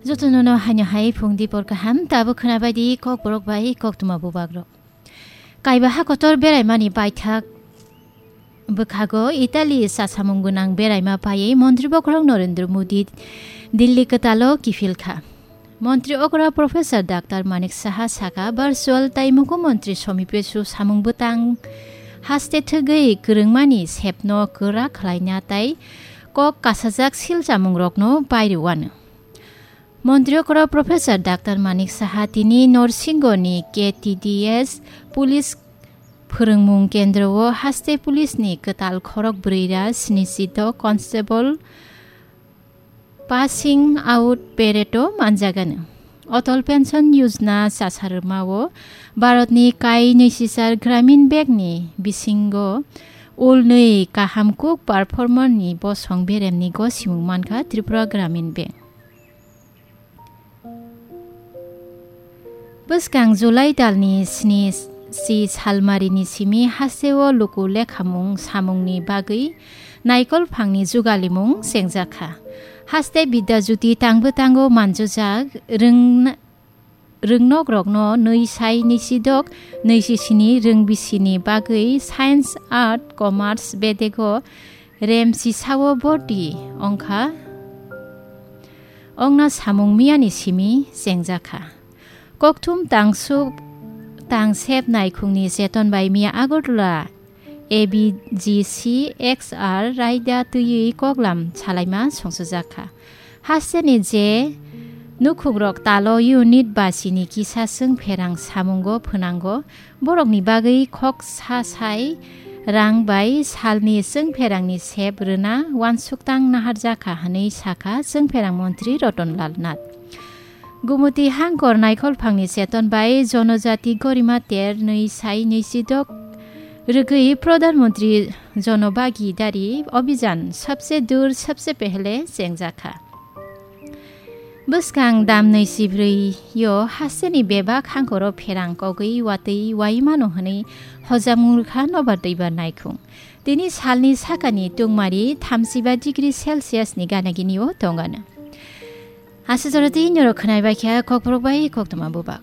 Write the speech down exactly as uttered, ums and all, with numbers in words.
Jotono no haino hai phung dipor kaham, tabo khwnabai di kokborok bai koktwma bubagrok. Kaiba ha kotor beraimani baithak bwkhago Italy chasamung gwnang beraima paiwi Montri Bokhorok Narendra Modi Delhi kwtalo kiphil kha. Montri okra Professor Doctor Manik Saha saka virtual tai Mukhyamantri Somi Pesu samung bwtang haste thwgwi kwrwngmani sepno kwrak khlaina tai kok kasajak silchamungrokno pairwano. Montri okra Professor Doctor Manik Saha tini Norsingoni K T D S Police Phwrwngmung Kendro o haste police ni kwtal khorok bwrwi ra snichi do constable passing out parade o manjagano. Atal Pension Yojana chasarwma o Bharat ni kai nwisisar Gramin Bank ni bisingo ulnwi kaham kuk performer ni bosong berem ni gosimung mankha Tripura Gramin Bank. Bwskang July talni sni si salmarini simi hasteo luku lekhamung samungni bagwi naikol phangni jugalimung chengjakha. Haste Bidya Jyoti tangbo tango manjujak rwngna-, rwngnokrokno nwi sai nwisidok nwisisini rwngbisini bagwi science, art, commerce bedego remsisao borti ongkha. Ongna samung miyani simi chengjakha. Kokthum tangsuk tangsep naikhungni cheton bai miya Agartala A B G C X R raida twiwi koklam salaima songsojakha. Hasteni je nukhukrok talo unit basini kisa chwngpherang samungo phwnango, borokni bagwi khok sa sai rang bai salni chwngpherangni sep rwna uansuk tang naharjakha hwnwi sakha chwngpherang montri Ratan Lal Nath. Gumuti hangkor naikol phangni cheton bai Jonojati Gorima ter nwi sai nwisidok rwgwi Pradhan Mantri Jon Bhagidari Abhiyan sabse dur sabse pehle chengjakha. Bwskang dam nwi sibrwi yo hasteni bebak hangkoro pherang kogwi watwi wai mano hwnwi hojak mungkha nobar twibar naikhung. Tini salni sakani tungmari thamsiba degree Celsius ni gana gini o tongano. Aswk jora tei norok khwnai bai kha kokborok bai koktwma bubak.